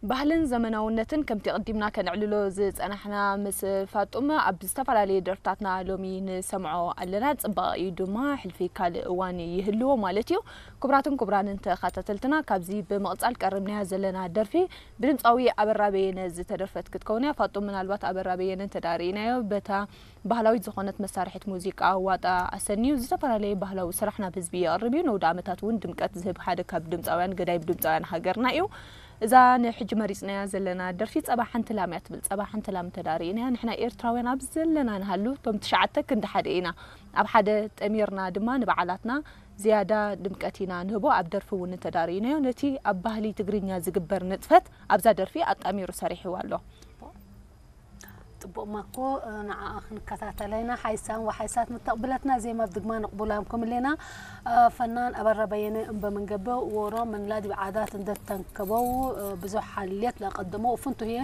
ባህልን ዘመናውነትን ከምቲ ቅዲምና ከነዕልሎ ዝጸናሕና ምስ ፋጡም ኣብ ዝተፈላለየ ደርፍታትና ሎሚ ንሰምዖ ኣለና። ጽባቐ እዩ ድማ ሕልፊ ካልእ እዋን ይህልዎ ማለት እዩ። ክቡራትን ክቡራንን ተኸታተልትና፣ ካብዚ ብምቕጻል ቀሪብናያ ዘለና ደርፊ ብድምጻዊ ኣበራ በየነ ዝተደርፈት ክትከውን እያ። ፋጡም፣ ምናልባት ኣበራ በየነ እንተ ደኣ ርኢናዮ በታ ባህላዊት ዝኾነት መሳርሒት ሙዚቃ ዋጣ ኣሰንዩ ዝተፈላለየ ባህላዊ ስራሕ ናብ ህዝቢ የቕርብ እዩ። ነውዲ ዓመታት እውን ድምቀት ዝህብ ሓደ ካብ ድምፃውያን፣ ገዳይም ድምፃውያን ሃገርና እዩ። እዛ ንሕጂ መሪፅናያ ዘለና ደርፊ ጸባ ሓንቲ ላም እያ ትብል። ጸባ ሓንቲ ላም እንተ ደኣ ርኢናያ፣ ንሕና ኤርትራውያን ኣብ ዘለና ንሃሉ፣ እቶም ትሽዓተ ክንዲ ሓደ ኢና። ኣብ ሓደ ጠሚርና ድማ ንበዓላትና ዝያዳ ድምቀት ኢና ንህቦ። ኣብ ደርፊ እውን እንተ ደኣ ርኢናዮ፣ ነቲ ኣብ ባህሊ ትግርኛ ዝግበር ንጥፈት ኣብዛ ደርፊ ኣጣሚሩ ሰሪሕዋ ኣሎ። ጽቡቕ ማኮ፣ ንዓኣ ክንከታተላ ኢና። ሓይሳን ወሓይሳት ምተቕብለትና ዜማ ብድግማ ንቕቡላም ክምሌና። ፈናን ኣበራ በየነ እምበ መንገበ ወሮ ምን ላዲ ዓዳት እንደተንከበው ብዙሕ ሓልየት ለቀደመው ፍንቱ